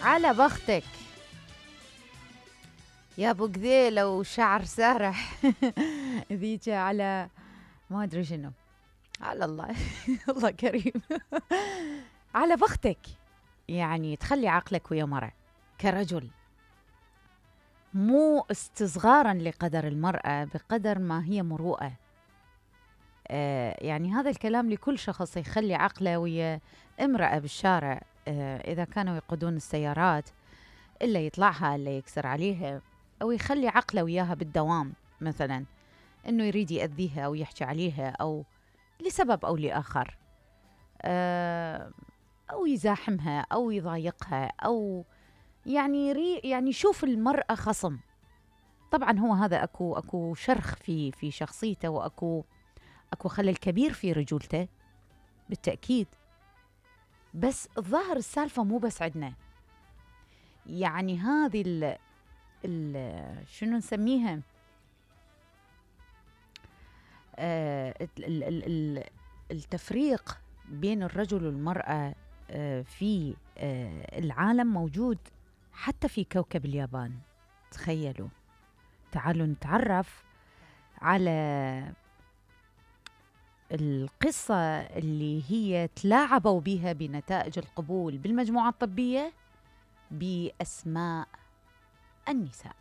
على بختك يا ابو قذيله وشعر سارح. ذيك على ما ادري شنو. على الله. الله كريم. على بختك، يعني تخلي عقلك ويا مرة كرجل، مو استصغارا لقدر المرأة بقدر ما هي مروءة. يعني هذا الكلام لكل شخص يخلي عقله ويا امرأة بالشارع، إذا كانوا يقودون السيارات إلا يطلعها إلا يكسر عليها، أو يخلي عقله وياها بالدوام، مثلا إنه يريد يأذيها أو يحكي عليها أو لسبب أو لآخر، أو يزاحمها أو يضايقها، أو يعني يشوف المرأة خصم. طبعا هو هذا أكو شرخ في شخصيته، وأكو خلل كبير في رجولته بالتأكيد. بس الظاهر السالفة مو بس عندنا، يعني هذه شنو نسميها، التفريق بين الرجل والمرأة في العالم موجود حتى في كوكب اليابان. تخيلوا، تعالوا نتعرف على القصة اللي هي تلاعبوا بها بنتائج القبول بالمجموعة الطبية بأسماء النساء.